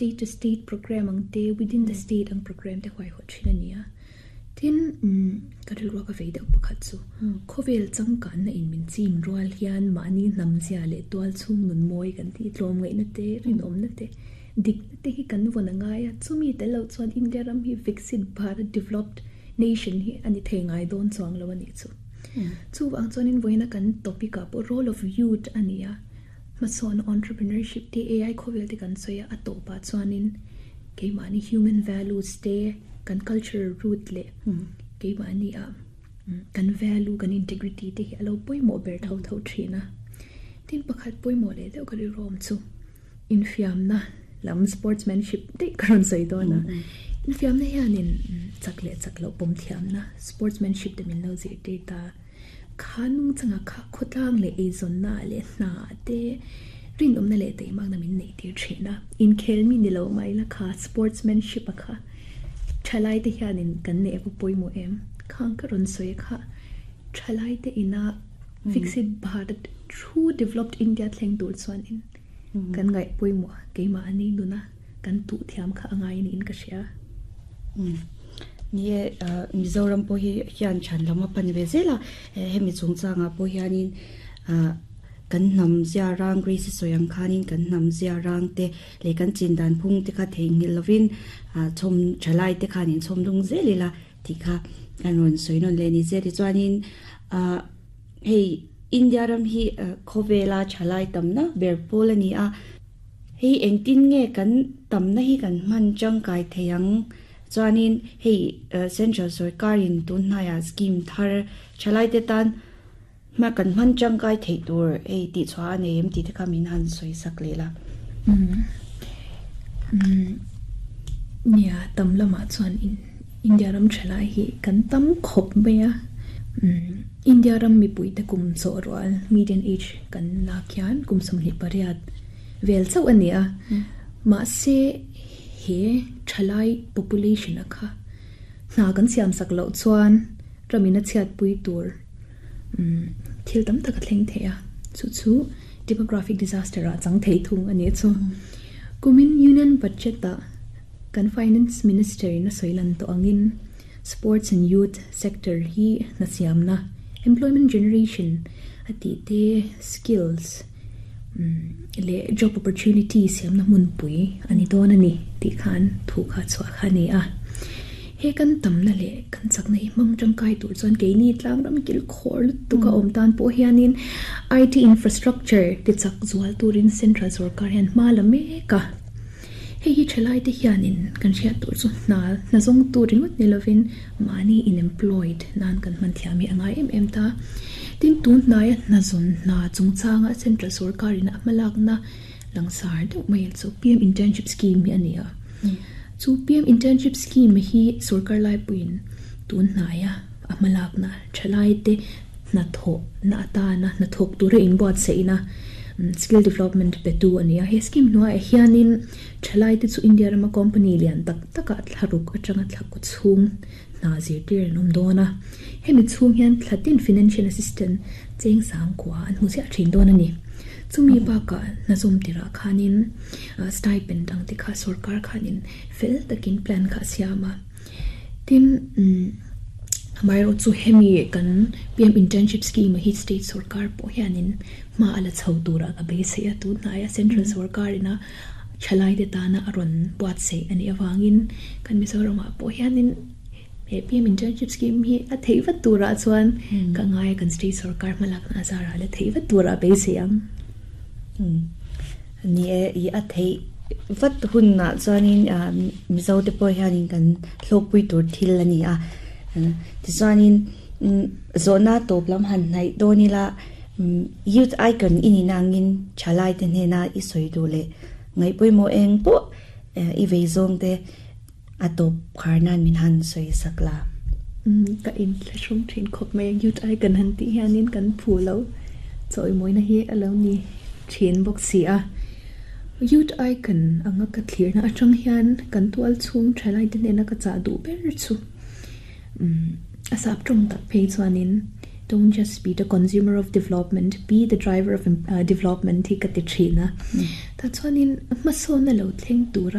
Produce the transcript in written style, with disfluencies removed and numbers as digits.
State to state programme ang te, within the state ang programme te huaihawt thin a ni a. Tin, ka rilru a ka vei deuh pakhat chu khawvel changkanna in min chim rual hian mahni hnam zia leh tual chhung nun mawi kan tih tlawmngaihna te, rinawmna te, dikna te hi kan vawn a ngai a. Chumi tel loh chuan India ram hi Viksit Bharat developed nation hi a ni thei ngai dawn chuang lo a nih chu. Chuvang chuanin vawiina kan topic ah pawh role of youth a ni a. Hmasawn entrepreneurship te AI khawvel te kan sawi a, a tawpah chuanin keimahni human values te, kan cultural root leh keimahni ah kan value, kan integrity te hi a lo pawimawh ber tho tho thin a. Tin pakhat pawimawh leh deuh ka rilru awm chu infiamna lam sportsmanship daih ka rawn sawi dawn a. Infiamna hianin chak leh chak loh pawm thiamna sportsmanship te min lo zirtir ta. Kha nungchanga kha khawtlang leh eizawnna leh hna te rinawmna leh teimakna min neih tir thin a. Inkhel mi ni lo mah ila kha sportsmanship a kha thalai te hianin kan neih a va pawimawh em? Khang ka rawn sawi a kha thalai te ina Viksit Bharat true developed India thleng tur chuanin kan ngaih pawimawh a, keimahni nuna kan tuh thiam kha a ngai niin ka hria. Ni e, Mizoram pawh hi hian chhan lam a pan ve zel a, hemi chungchangah pawh hianin kan hnam zia rang Grace sawi ang khanin kan hnam zia rang te leh kan chin dan phung te kha theihnghilh lovin chhawm thalai te khan inchhawm lung zel ila tih kha kan rawn sawi nawn leh a ni che. Tichuanin hei India ram hi khawvela thalai tamna ber pawl a ni a. Hei engtin nge kan tamna hi kan hman tangkai thei ang? Chuanin hei Central sawrkarin tun hnaiah scheme thar thalaite tan hma kan hman tangkai theih tur hei tihchhuah a nei em tih te kha min han sawi sak leh la. Nia, tam lamah chuan India ram thalai hi kan tam khawp mai a. India ram mipuite kum chawh rual, median age, kan lak hian kum 28 vel chauh a ni a. Mahse, he thalai population a kha hna kan siam sak loh chuan ramin a chhiatpui tur thil tam tak a thleng thei a. Chu chu demographic disaster ah chang thei thung a ni chu. Kumin Union Budget ah kan Finance Minister in a sawi lan tawh angin Sports and Youth sector hi hna siamna, employment generation a tih te, skills leh job opportunity siamna hmunpui a ni dawn a ni tih khan thu kha chhuah kha a ni a. He kan tamna leh kan chakna hi hmang tangkai tur chuan keini tlangram kilkhawr lutuk a awm tan pawh hianin IT infrastructure ti chak zual turin central sorkar hian hma la mek a. Hei hi thalaite hianin kan hriat tur chu hna hna zawng tur ringawt ni lovin mahni in-employed nan kan hman thiam hi a ngai em em ta. Tin, tun hnaia hna zawn hna chungchanga Central sorkarin a hmalakna langsar deuh mai chu PM Internship Scheme hi a ni a. Chu PM Internship Scheme hi sorkar laipuiin tun hnaia a hmalakna thalaite hnathawhna atana hnathawk tura inbuatsaihna skill development petu a ni a. He scheme hnuaiah hianin thalaite chu India rama company lian tak takah thlaruk atanga thla kaw chhung hna zirtir an awm dawn a. Hemi chhung hian thla tin financial assistance cheng sangkua an hmu ziah thin dawn a ni. Chumi bakah hna zawm tirah khanin stipend ang te kha sorkar khanin fel takin plan kha a siam a. Tin, amaherawh chu hemi kan PM Internship Scheme hi state sorkar pawh hianin hma a la chho turah ka beisei a, tun hnaia central sorkarin a thalaite tana a rawn buatsaih a nih avangin kan Mizoramah pawh hianin he PM Internship Scheme hi a theih vat turah chuan ka ngai a, kan state sorkar hmalakna a zarah la theih vat turah beisei ang. Ni e, i a theih vat hunah chuanin Mizo te pawh hianin kan hlawkpui tur thil a ni a. Tichuanin zawhna tawp lam han hnaih dawn ila Youth Icon i nih nangin thalai te hnena i sawi duh leh ngaih pawimawh eng pawh i vei zawng te a tawp khar nan min han sawi sak la. Ka inthlahrung thin khawp mai a, Youth Icon han tih hianin kan phu lo chawimawina hi a lo ni thin bawk si a. Youth Icon anga ka thlirna atang hian kan tual chhung thalaite hnena ka chah duh ber chu a sap tawng tak phei chuanin Don't just be the consumer of development, be the driver of development hi ka ti thin a. Tah chuanin hmasawn a lo thleng tura.